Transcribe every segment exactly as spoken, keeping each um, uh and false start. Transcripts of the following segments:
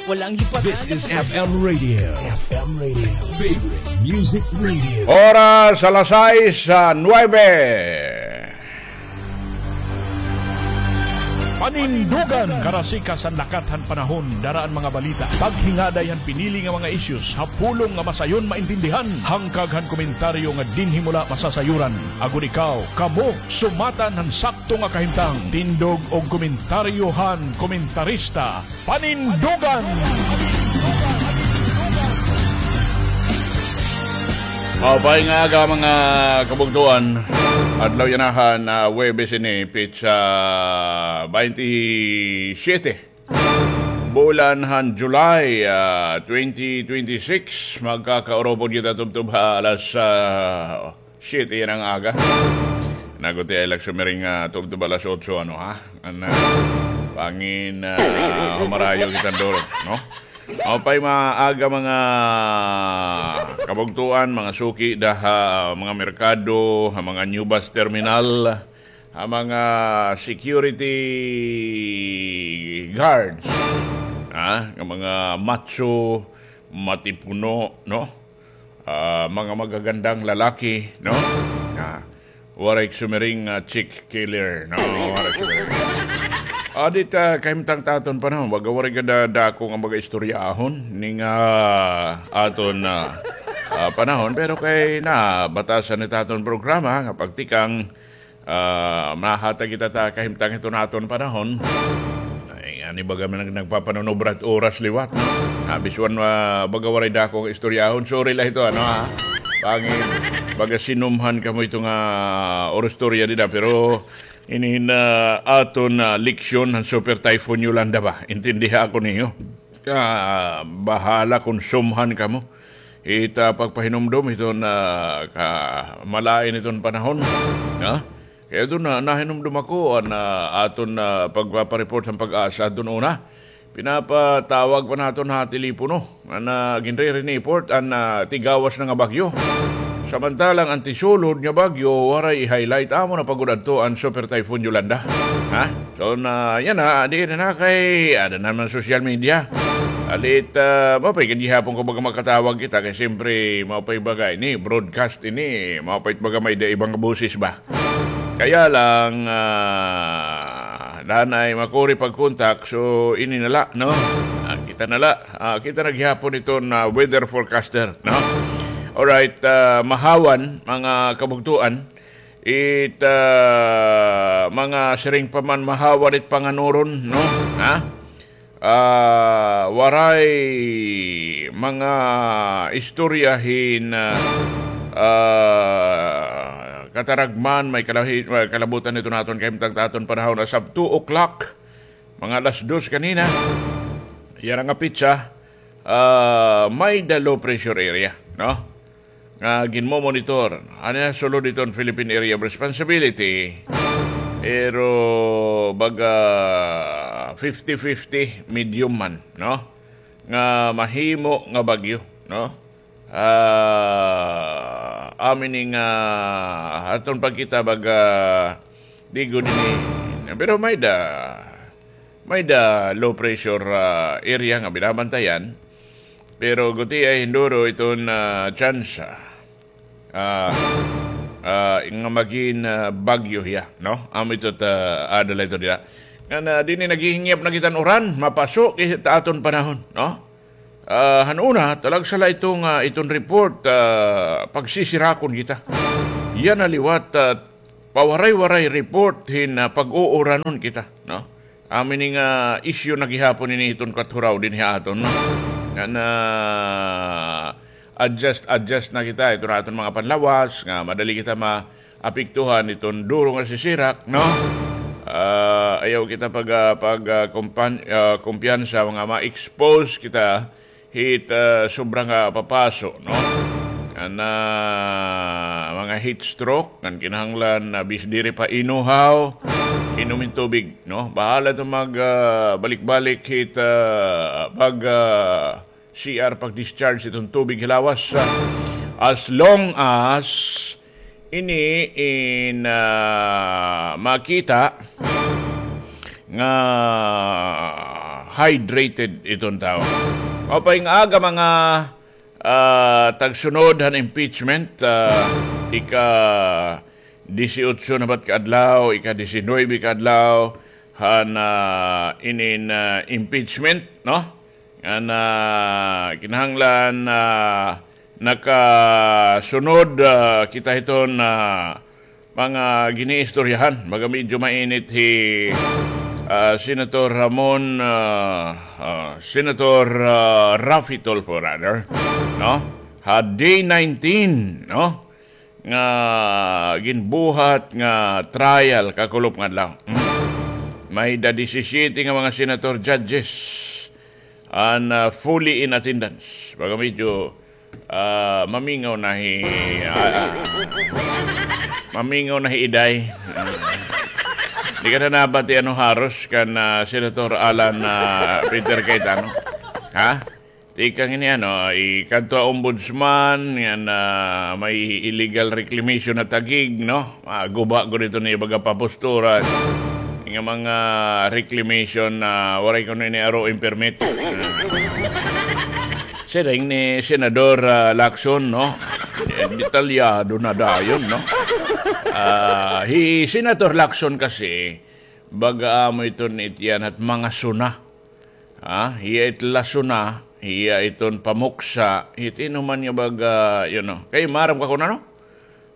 This is F M Radio. F M Radio. Favorite Music Radio. Oras alas sais, ah, nuebe. Panindugan, karasikas han lakat han panahon, dara an mga balita, paghingaday han pinili nga mga issues, ha pulong nga masayon maintindihan, hangkag han komentaryo nga dinhi mo la masasayuran. Agod ikaw, kamo, sumatan han sakto nga kahimtang, tindog og komentaryo han komentarista. Panindugan! Maupay nga aga, mga kabugtoan. Adlaw yana han, ah, Huwebes ini, petsa baynte siyete. Bulan han July, ah, twenty twenty-six. Magkakaurupod kita tubtob ha alas, ah, siyete yana nga aga. Nagutiay la ak sumiring, ah, tubtob alas otso, ano, ha? An, ah, bangin, ah, humarayo kita duro, no? Maupay nga aga, mga kabugtoan, mga suki da ha mga merkado, ha mga new bus terminal, ha mga security guards, ha, nga mga macho, matipuno, no? Ah, mga magagandang lalaki, no? Ah, waray sumiring, ah, chick killer, no? Waray sumiring. Adi ta, kahimtang ta aton panahon, baga waray gad dako nga baga istoryahon ning, ah, aton, ah, ah, panahon, pero kay nabatasan it aton programa nga pagtikang, ah, mahatag kita ta kahimtang hiton aton panahon. Ay, ngani baga man nag-, nagpapanunubra it oras liwat, no? Ah, biswan, ah, baga waray dako nga istoryahon. Sorry la hito, ano, ha? Bangin, baga sinumhan kamo hito nga, ah, orostorya dida, pero ini na aton, ah, leksyon han Super Typhoon Yolanda ba? Intindiha ako niyo. Ah, bahala kon sumhan kamo. Ita pagpahinumdom hiton, ah, kamalain hiton panahon. Ha? Kay adto na, nahinumdom ako, an, ah, aton, ah, pagpapareport han PAGASA adton una. Pinapatawag pa naton ha telepono. An, ah, ginre-report an, ah, tigawas na nga bagyo. Samantalang an tisulod nga bagyo, waray i-highlight. Amo na pa gud adto an Super Typhoon Yolanda. Ha? So, na, yana, adi na kay, ada naman social media. Alit, ah, maupay gad gihapon kon baga makatawag kita, kay siyempre, maupay baga ini, broadcast ini, maupay baga may-ada iba nga boses ba? Kaya lang, ah, danay makuri pag-contact, so ini na la, no? Ah, kita na la. Ah, kita na gihapon iton weather forecaster, no? Alright, ah, mahawan, mga kabugtoan, it, ah, mga siring pa man mahawan it panganuron, no? Ha? Ah, waray mga istorya hin, ah, ah, kataragman, may kalahi-, may kalabutan hiton aton kahimtang ta aton panahon as of two o'clock, mga alas dos kanina. Yana nga petsa, ah, may-ada low pressure area, no? Nga ginmomonitor. Ano, sulod hiton Philippine Area of Responsibility. Pero baga fifty fifty, medium man, no? Nga mahimo nga bagyo, no? Ah, amin nga aton pagkita baga di gud ini. Pero may-ada, may-ada low pressure, ah, area nga binabantayan. Pero gutiay hin duro iton, ah, tsansa, ah, ah, nga magin, ah, bagyo hiya, no? Amo ito ta, ah, adala ito dida. Ngan, ah, dinhi naghihingyap na kita hin uran, mapaso kita aton panahon, no? Ah, han una, talagsa la ito nga iton report, ah, pagsisirakon kita. Yana liwat, ah, pawaray-waray report hin, ah, pag-uuranon kita, no? Amo ini nga issue na gihapon ini hiton Kathuraw dinhi ha aton, no? Nga na-adjust, adjust na kita, iton aton mga panlawas, nga madali kita maapektuhan hiton duro nga sisirak, no? Ah, ayaw kita pag, ah, pag, ah, kumpan-, ah, kumpiyansa, nga ma-expose kita hit, ah, sobra nga papaso, no? An, ah, mga heat stroke, ngan kinahanglan, ah, bis diri pa inuhaw, inom hin tubig, no? Bahala ito mag, ah, balik-balik hit, ah, pag, ah, C R, pag-discharge iton tubig hilawas, ah, as long as ini in, ah, makita nga hydrated iton tawo. Maupay nga aga, mga, ah, tagsunod han impeachment, ah, ika disiotso na ba it kaadlaw, ika disinuybe kaadlaw han, ah, inin, ah, impeachment, no? Ngan, ah, kinahanglan, ah, nakasunod, ah, kita hiton, ah, mga giniistoryahan. Baga medyo mainit hi, ah, Senator Ramon, ah, ah, Senator, ah, Raffy Tulfo, rather, no? Ha day nineteen, no? Nga ginbuhat nga trial kakulop nga adlaw. Hmm. May-ada disisiyete nga mga senator judges an, ah, fully in attendance. Baga medyo, ah, mamingaw na hi, ah, ah, mamingaw na hi Iday. Ah. Di ka na nabati ano haros kan, ah, Senator Alan, ah, Peter Cayetano? Ha? Tikang ini, ano, ikadto ha ombudsman, ngan, ah, may illegal reclamation na Taguig, no? Ah, guba gud ito niya baga papostura. Nga mga reclamation na waray kuno ini aro in permit. Ah. Siring ni Senador, ah, Lacson, no? Eh, detalyado na dayon, no? Ah, hi Senator Lacson kasi, baga amo iton itiyan hat mga suna. Ah, hiya it lasuna, hiya iton pamuksa, it ino man nga baga, you know. Kay maaram ka kun ano?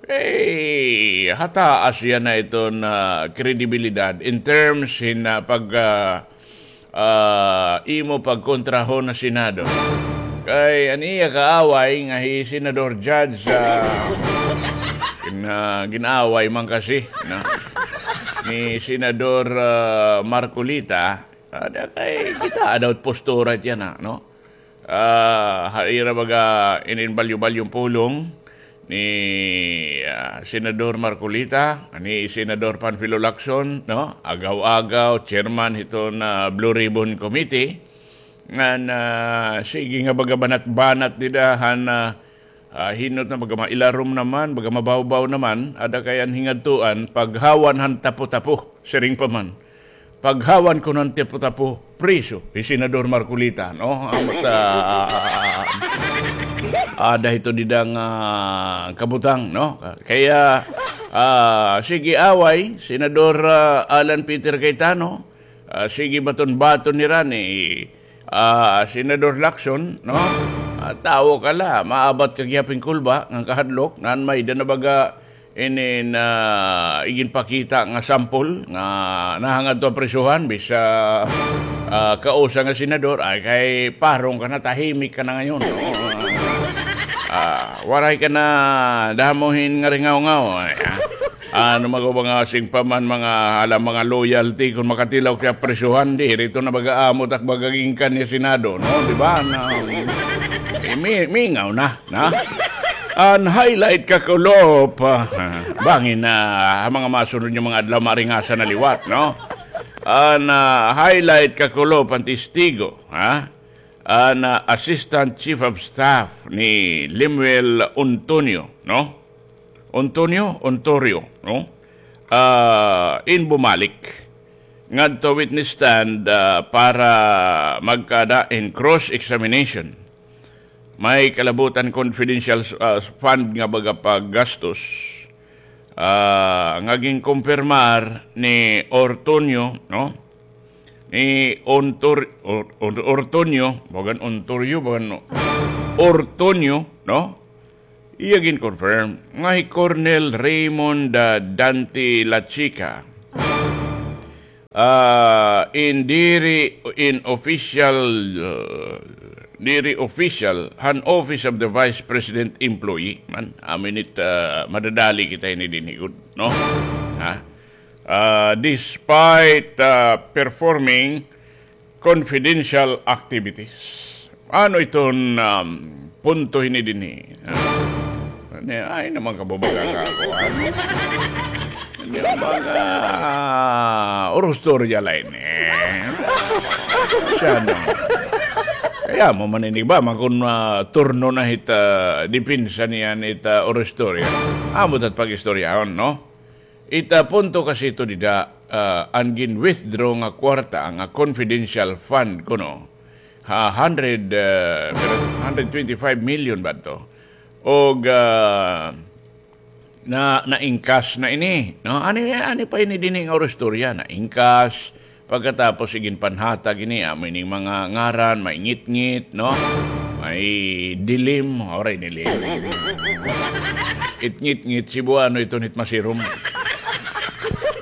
Eh, hataas yana iton, ah, kredibilidad in terms hin, ah, pag, ah, ah, imo pagkontrahon ha Senado. Kay an iya kaaway nga hi Senador Judge, ah, gin-, ah, gin-away man kasi, no? Ni Senador, ah, Marcoleta, ada kay kita daw postura tiyan na, no? Ah, ha ira baga inin balyo-balyong pulong ni, ah, Senador Marcoleta, ni Senador Panfilo Lacson, no? Agaw-agaw, chairman hiton, ah, Blue Ribbon Committee. Ngan, ah, sige nga baga banat-banat dida han, ah, ah, hinot na baga mailarom naman, baga mabawbaw naman, ada kay an hingadtuan, paghawan han tapo-tapo, siring pa man. Paghawan kuno han tapo-tapo, priso hi Senador Marcoleta, no? Amat, ah, ada hito dida nga kabutang, no? Kaya, ah, sige away, Senador, ah, Alan Peter Cayetano, ah, sige baton-baton nira ni, ah, Senador Lacson, no? Ah, tawo ka la, maabat ka gihap hin kulba nga kahadlok, ngan may-ada na baga inin, ah, iginpakita nga sample nga nahangadto ha prisohan, bisa, ah, kausa nga senador, ay kay parong ka na, tahimik ka na ngayon, no? Ah, waray ka na damo hin ngaringawngaw, ay, ah. Ano man ko mga singpaman, mga, hala, mga loyalty, kun makatilaw ka ha prisohan, diri ito na baga amo tak baga ginkan niya Senado, no? Di ba? Na, eh, mi-, mingaw na. Na? An highlight kakulop, ah, bangin na ha mga masunod nga mga adlaw, maaringasa na liwat, no? An, ah, highlight kakulop an testigo, ha? An, ah, Assistant Chief of Staff ni Lemuel Ontonio, no? Ontonio, Ontorio, no? Ah, in bumalik ngadto witness stand, ah, para magkada in cross-examination. May kalabutan confidential, ah, fund nga baga paggastos, ah, nga ginkumpirmar ni Ortonio, no? Ni Ontor-, Or-, Or-, Ortonio, bagan Ontorio, bagan, no? Ortonio, no? Iya gin-confirm nga hi Colonel Raymond, ah, Dante Lachica, ah, in diri in official, ah, diri official han Office of the Vice President employee man. Amo ini it, ah, madadali kita ini dinhi gud, no? Ha? Ah, despite, ah, performing confidential activities. Ano iton, um, punto hini dinhi? Ah, ni-, ay naman kababaga nga ako, ano? Hindi mga, ah, urustorya la ini. Siya, no? Kaya mo man ini ba, makun, ah, turno na hit, ah, depensa niyan hit, ah, urustorya. Amo tat pag-istoryahon, no? Ita punto kasi ito dida, ah, an gin-withdraw nga kwarta, nga confidential fund kuno, ha, hundred, ah, hundred twenty-five million ba to? Og, ah, na, na-encash na ini, no? Ani, ani pa ini dinhi nga istorya, na-encash, pagkatapos iginpanhatag ini, amo ining mga ngaran, may ngitngit, no? May dilim, oray dilim. It ngitngit, Cebuano iton hit masirom.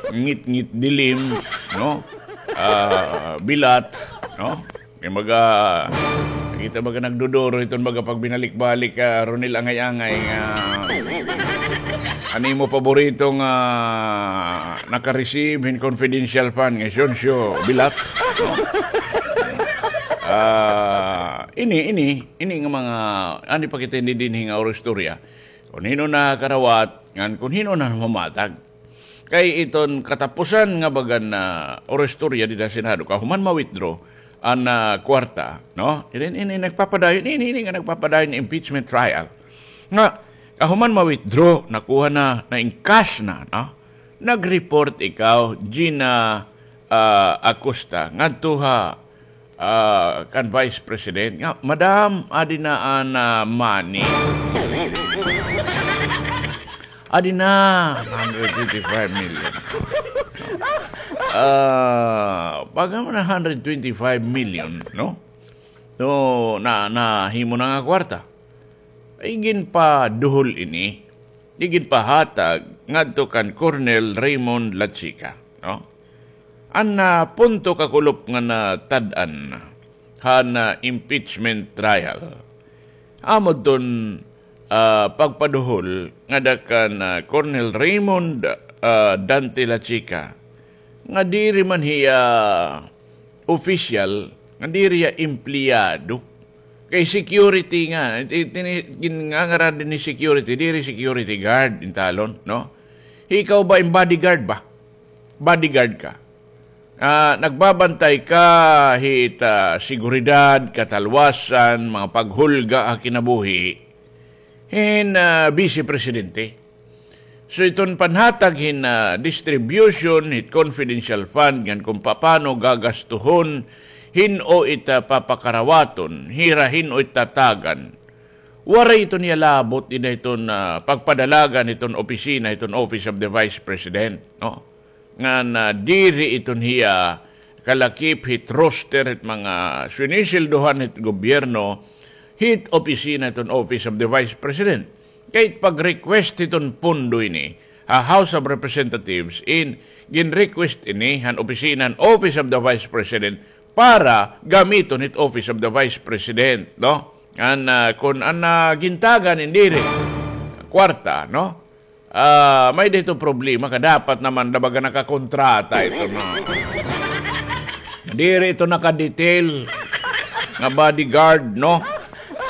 Ngitngit dilim, no? Ah, bilat, no? Kay baga, kita baga nagduduro iton baga pagbinalik-balik, ah, Ronel Angay-angay nga an imo paborito nga naka-receive hin confidential fund nga Sioncio Bilat, no? Ah, ini, ini, ini nga mga, ani pa kita ini dinhi nga istorya. Kon hin-o nakarawat, ngan kon hin-o na mamatag. Kay iton katapusan nga bagan na istorya dida ha Senado, kahuman ma-withdraw an, ah, kwarta, no? Ini, ini nagpapadayon, ini, ini nga nagpapadayon impeachment trial. Nga, kahuman ma-withdraw, nakuha na, na-encash na, no? Nag-report ikaw, Gina, ah, Acosta, ngadto ha ah, kan Vice President nga, "Madam, adi na an, ah, money." Adi na, hundred twenty-five million. Ah, pagka man na hundred twenty-five million, no? So, na, nahimo na nga kwarta. Ay, ginpaduhol ini, iginpahatag ngadto kan Colonel Raymond Lachica, no? An, ah, punto kakulop nga natad-an han, ah, impeachment trial, amo ton, ah, pagpaduhol ngada kan, ah, Colonel Raymond, ah, Dante Lachica, nga diri man hiya opisyal, nga diri hiya empleyado. Kay security nga, it-, it-, ini-, gin-, ngangaran dinhi security, diri security guard, intalon, no? Ikaw ba, im bodyguard ba? Bodyguard ka. Ah, nagbabantay ka hit, ah, seguridad, katalwasan, mga paghulga ha kinabuhi hin, ah, Vice Presidente. So, iton panhatag hin, ah, distribution hit confidential fund ngan kon papano gagastuhon, hin-o it, ah, papakarawaton, hira hin-o it tatagan. Waray iton iya labot dida hiton, ah, pagpadalagan hiton opisina, hiton Office of the Vice President, no? Ngan, ah, diri iton hiya kalakip hit roster hit mga sinisildohan hit gobyerno hit opisina hiton Office of the Vice President. Kay pag-request hiton pondo ini ha House of Representatives, in gin-request ini han opisina han Office of the Vice President para gamiton hit Office of the Vice President, no? An, ah, kon an, ah, gintagan in diri kwarta, no? Ah, may-ada ito problema ka dapat naman da baga nakakontrata ito, no? Diri ito nakadetail nga bodyguard, no?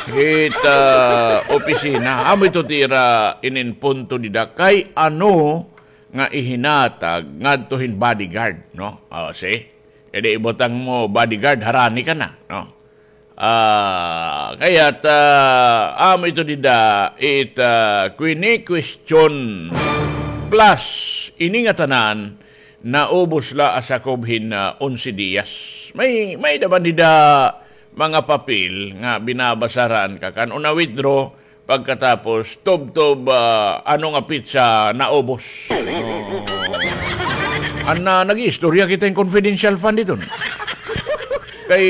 Hit, ah, opisina. Amo ito tira inin punto dida kay ano nga ihinatag ngadto hin bodyguard, no? O, see? Kay di ibutang mo bodyguard, harani ka na, no? Ah, kay it, ah, amo ito dida, it, ah, kini-question. Plus, ini ngatanan, naubos la ha sakob hin, ah, onse diyas. May, may-ada man dida mga papel nga binabasa ran ka kan una withdraw, pagkatapos, tubtob, ah, ano nga petsa naubos. Oo. An, ah, nag-iistorya kita hin confidential fund iton. Kay,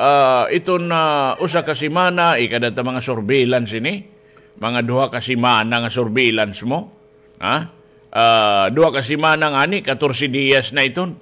ah, iton, ah, usa ka semana, ikada ta mga surveillance ini. Mga duha ka semana nga surveillance mo. Ha? Ah, duha ka semana ngani, katorse diyas na iton.